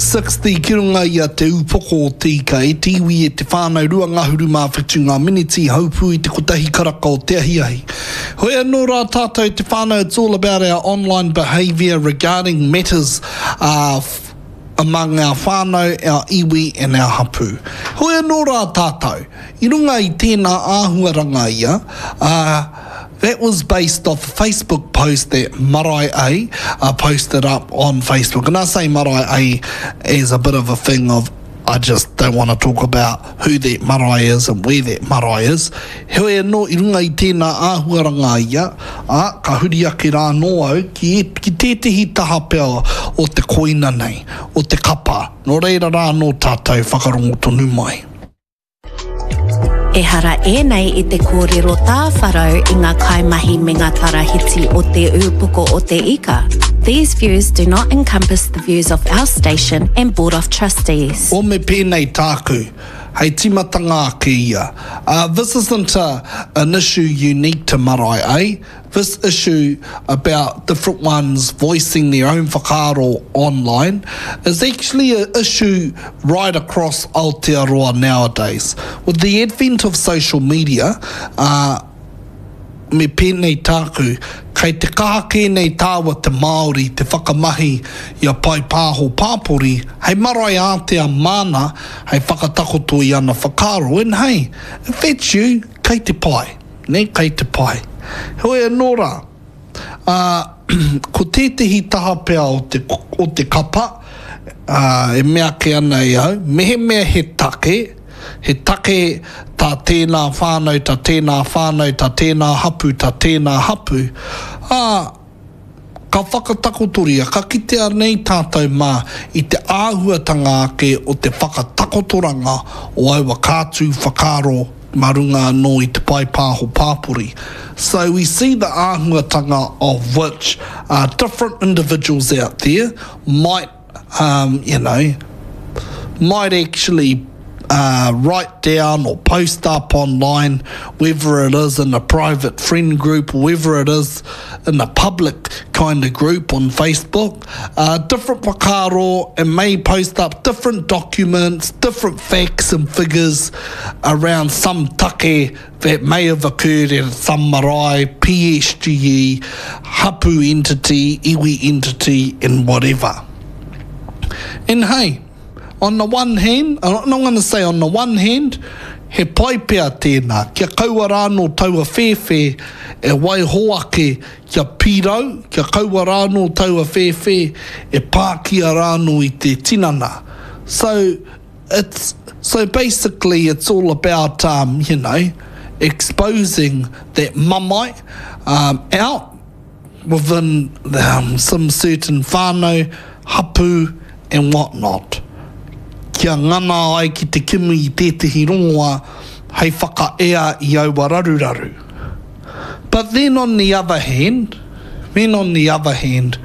60 ki runga i a Te Ūpoko o Te Ika e te iwi e te whānau 2 ngahuru mā whitu ngā miniti haupū i te kotahi karaka o te ahiahi. Hoi anō rā tātou te whānau it's all about our online behaviour regarding matters uh, among our whānau, our iwi and our hapū. Hoi anō rā tātou, i runga i tēnā āhuaranga ia, uh, That was based off a Facebook post that Marae A uh, posted up on Facebook. And I say Marae A as a bit of a thing of I just don't want to talk about who that marae is and where that marae is. Heoi anō, i runga i tēnā āhuaranga ia, ā, ka huri ake rā anō au ki, ki tētehi taha pea o te koina nei, o te kapa. Nō reira rā anō tātou whakarongo tonu mai. Ehara ēnei i te kōrero tāwharau i ngā kaimahi me ngā tarahiti o Te Ūpoko o Te Ika. These views do not encompass the views of our station and Board of Trustees. O me pēnei tāku, hei tīmatanga ake ia. Uh, this isn't a, an issue unique to Marae A. This issue about different ones voicing their own whakaaro online is actually an issue right across Aotearoa nowadays. With the advent of social media, uh, me pēnei tāku, kei te kaha kē nei tāua te Māori te whakamahi i a pae pāho pāpori hei marae ātea māna hei whakatakoto i ana whakaaro and hey, if that's you, kei te pai. Nē, kei te pai. Heoi anō rā, ā, ko tētehi taha pea o te, o te kapa, ā, e mea ake ana e au, mehemea he take, he take tā tēnā whānau, tā tēnā whānau, tā tēnā hapū, tā tēnā hapū, ā, Ka whakatakotoria, ka kitea nei tātou mā i te āhuatanga ake o te whakatakotoranga o aua kātū whakaaro mā runga anō i te pae pāho pāpori. So we see the āhuatanga of which different individuals out there might um, you know, might actually uh, write down or post up online, whether it is in a private friend group or whether it is in a public kind of group on Facebook, uh, different whakaaro and may post up different documents, different facts and figures around some take that may have occurred at some marae, PSGE, hapu entity, iwi entity, and whatever. And hey, on the one hand, I'm not going to say on the one hand, he pai pea tēnā, kia kaua rānō taua whēwhē e waiho ake kia pīrau, kia kaua rānō taua whēwhē e pākia rānō i te tinana. So, it's, so basically it's all about, um, you know, exposing that mamae um, out within um, some certain whānau, hapu and whatnot. Kia ngana ai ki te kimi i tētehi rongoa hei whakaea i aua raruraru. But then on the other hand, then on the other hand,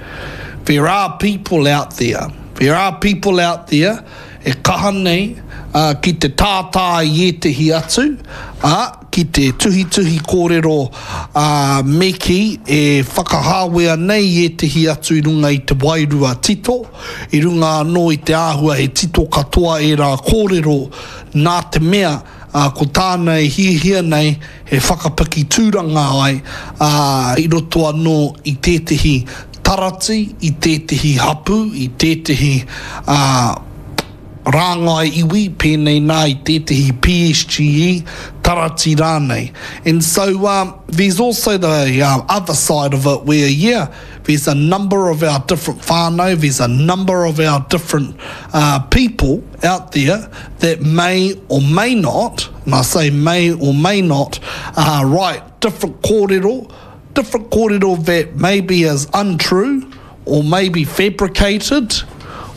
there are people out there, there are people out there e kaha nei ki te tātā i ētehi atu, ā, ki te tuhituhi kōrero, ā, me kī, e whakahāwea nei i ētehi atu i runga i te wairua tito, i runga anō i te āhua he tito katoa ērā kōrero, nā te mea, ā, ko tāna e hiahia nei he whakapiki tūranga ai, ā, i roto anō i tētehi tarati, i tētehi hapū, i tētehi, ā, rāngai iwi, pēnei nā i tētehi PSGE, tarati rānei. And so, um, there's also the uh, other side of it where, yeah, there's a number of our different whānau, there's a number of our different uh, people out there that may or may not, and I say may or may not, uh, write different kōrero, different kōrero that maybe is untrue or maybe fabricated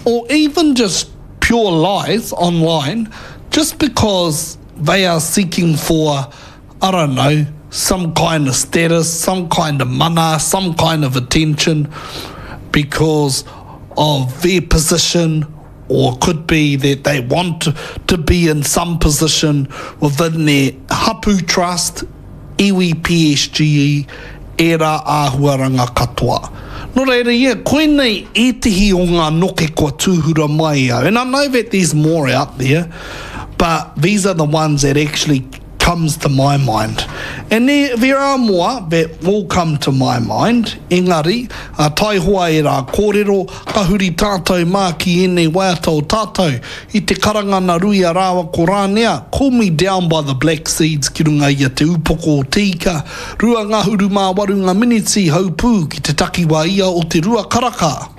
or even just pure lies online just because they are seeking for, I don't know, some kind of status, some kind of mana, some kind of attention because of their position or could be that they want to be in some position within their hapu trust, iwi PSGE, ērā āhuaranga katoa. Nō reira, yeah, koinei ētehi o ngā noke kua tūhura mai au. And I know that there's more out there, but these are the ones that actually comes to my mind. And there, there are more that will come to my mind, engari, uh, taihoa e rā kōrero, ka huri tātou mā ki ēnei waiata o tātou. I te karanga na Ruia rāua ko Rānea, Call Me Down by the Black Seeds ki runga i a Te Upoko o Te Ika, 28 nga miniti haupū ki te takiwā ia o te rua karaka.